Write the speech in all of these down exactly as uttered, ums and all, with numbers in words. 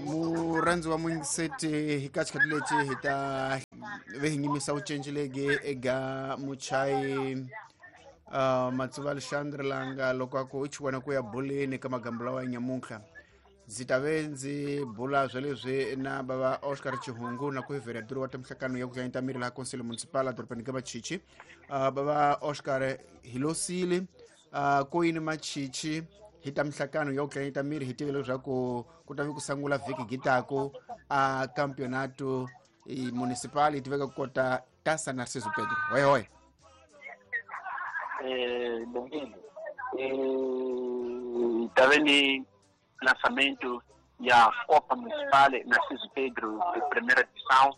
Murhandzi wa muyingiseti hi ka xikhathi lexi hi ta ve hi nyimisa vucinci legi eka muchayi uh, Matsuva Alexandre langa loko a ku i xivona ku ya boleni ka magambo lawa ya nyamuntlha. Ndzi ta ve ndzi bula swa leswi na bava Oscar Chihungu na ku vereador wa timhlakano ya ku tlanyita miri laha Conselho Municipal edorobeni ka Machichi. Uh, bava Oscar Hilosile uh, ko yini Machichi hi ta mihlakano ya ku tlanyita miri hi tive leswaku ku ta vi ku sungula vhiki gitaku a campeonato i municipal yi tiveka ku kota Taça Narciso Pedro. Hoi hoi. Eh, bom-vindo. Eh, tá vendo lançamento ya Copa Municipal Narciso Pedro de primeira edição.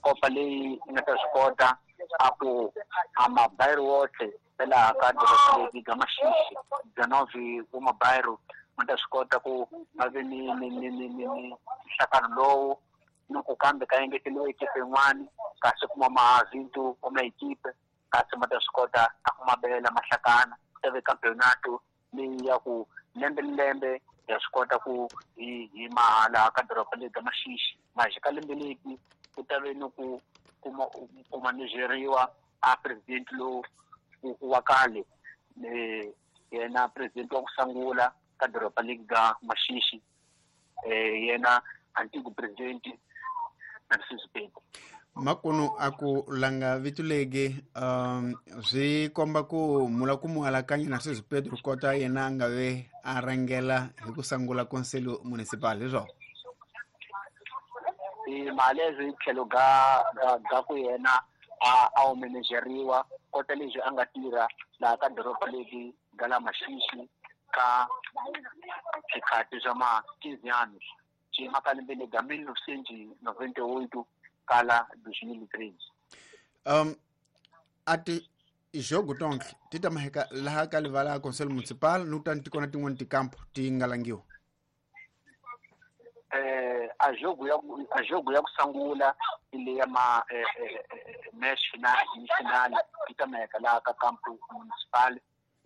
Copa leyi nga ta swi kota a ku a mabairro wotlhe ya laha ka doroba leri ga Maxixi dezenove wa mabairro ma ta swi kota ku va ve ni ni ni ni ni ni nhlakano lowu ni ku kambe ka engeteriwa ekipe yin'wani kasi kuma mavintu wa maekipe kasi ma ta swi kota a ku mabela mahlakana ku ta ve campeonato leyi ya ku lembe ni lembe ya swi kota ku hi hi mahala ka doroba leri ga Maxixi maji ka lembe leti ku ta ve ni ku kuma ku manejeriwa a president lowu wa khale eh yena president wa ku sungula ka doroba leri ga Maxixi eh yena antigo president Narciso Pedro. Makunu a ku langa vito legi um swi komba ku mula ku mu alakanya Narciso Pedro kota yena a nga ve a rhangela hi ku sungula Conselho Municipal hi swona. I mali hi tlhelo ga ga ku yena a a wu manejeriwa kota leswi a nga tirha laha ka doroba leri ga la Maxixi ka swikhathi swa ma quinze anos xi ka lembe leri ga mil novecentos noventa e oito kala dois mil e treze. Um a ti jogo tonke ti ta maheka laha ka livala Conselho Municipal no ta tikona tin'wana tikampo ti nga langiwa. Eh a jogo ya a jogo ya ku sungula ile ya ma eh, eh, match final final ti ta maheka laha ka campo municipal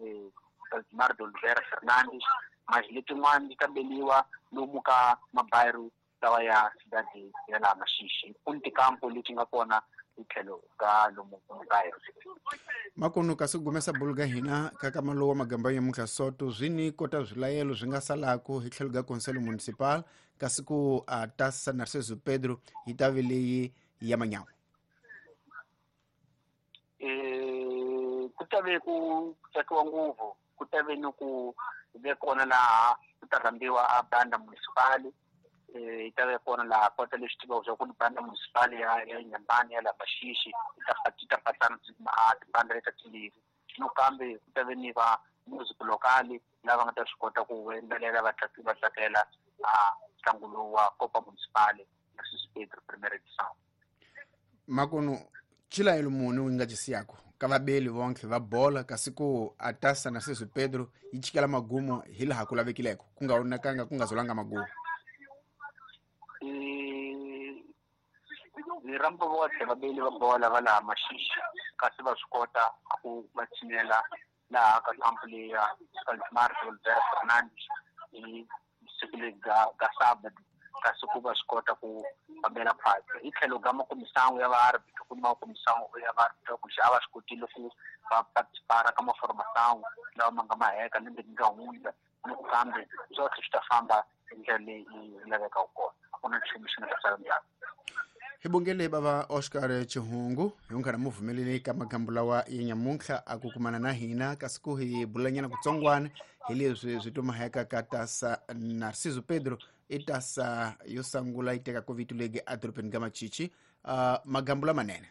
eh Valdemar de Oliveira Fernandes mas letin'wana ti ta beliwa lomu ka mabairro lawa ya cidade ya laha Maxixi ku ni tikampo leti nga kona hi tlhelo ka lomu mabairro. Makunu kasi gumesa buluga hina ka kama lowa magamba ya muntlha soto swi ni kota swilayelo swi nga salaku hi tlhelo ka Conselho Municipal kasi ku a Taça Narciso Pedro yi ta ve leyi ya manyawa. Eh ku ta ve ku tsakiwa ngopfu ku ta ve ni ku ve kona laha ku ta rhambiwa a banda municipal eh yi ta ve kona laha kota leswi tivaka swa ku ni banda municipal ya ya Nyambani ya laha Maxixi yi ta yi ta patsana a tibanda leta timbirhi no kambe ku ta ve ni va music local lava nga ta swi kota ku yimbelela va va tsakela a ntlangu lowu wa Copa Municipal Narciso Pedro primeira edição. Makunu chilayelo muni wu nga cisiyako ka vabeli vonke va bola kasi ku a Taça Narciso Pedro yi chikela magumo hi laha ku lavekileko ku nga onakanga ku nga zolanga magumo. Ni rhamba votlhe vabeli va bola va laha Maxixi kasi va swi kota ku va tshinela laha ka kampo leyi ya Valdemar de Oliveira Fernandes hi siku leri ga ga sábado kasi ku va swi kota ku fambela phasi hi tlhelo ga makomisango ya vaarbitro ku ni makomisango ya vaarbitro ku a va swi kotile ku va participara ka maformação lawa ma nga maheka lembe ri nga hundza ni ku kambe swotlhe swi ta famba hi ndlela leyi yi lavekaka kona a ku na nchumu xi nga ta sala ndzhaku. Hi bongele bava Oscar Chihungu hi nkarhi mu pfumeleli ka magambo lawa ya nyamuntlha a ku kumana na hina kasi ku hi bulanyana kutsongwana hi leswi swi tumaheka ka Taça Narciso Pedro i Taça yo sungula yi tekaka vito legi edorobeni ka Machichi. Uh, magambo lamanene.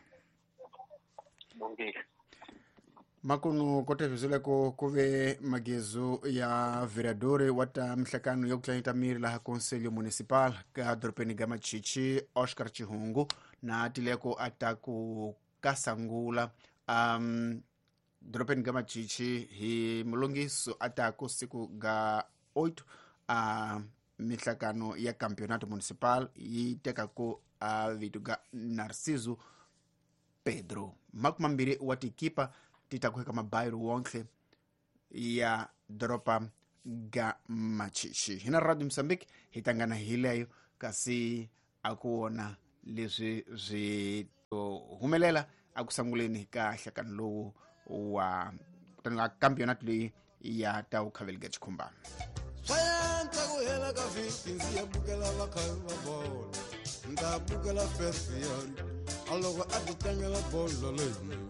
Makunu kote vizuleko ku ve magezo ya vereador wa ta mihlakano ya ku tlanyita miri laha Conselho Municipal ka dorobeni ga Machichi Oscar Chihungu na tileko a ta ku kasangula um dorobeni ga Machichi hi mulungiso a ta ku siku ga oito a mihlakano ya campeonato municipal yi tekaka a vito ga Narciso Pedro. Makumi mambirhi wa tikipa ti ta ku eka mabairro wonke ya doroba ga Machichi. Hina Radio Mozambique hi tangana hi leyo kasi a ku wona leswi swi to humelela a ku sanguleni ka hlakano lowu wa kutani campionato leyi ya ta ukhaveli ga Chikhumba. Swayanza ku hela ka vhiki ndzi ya bukela vakhavi va bolo ndza bukela Ferfiari a loko a ti tlangela bolo leyinene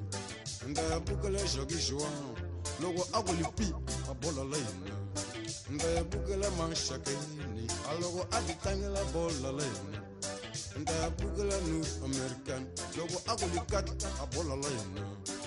ndza ya bukela Jacques Joan loko a ku lipi a bolo leyinene ndza ya bukela Manshakeni a loko a ti tlangela bolo leyinene ndza ya bukela North American loko a ku likatla a bolo leyinene.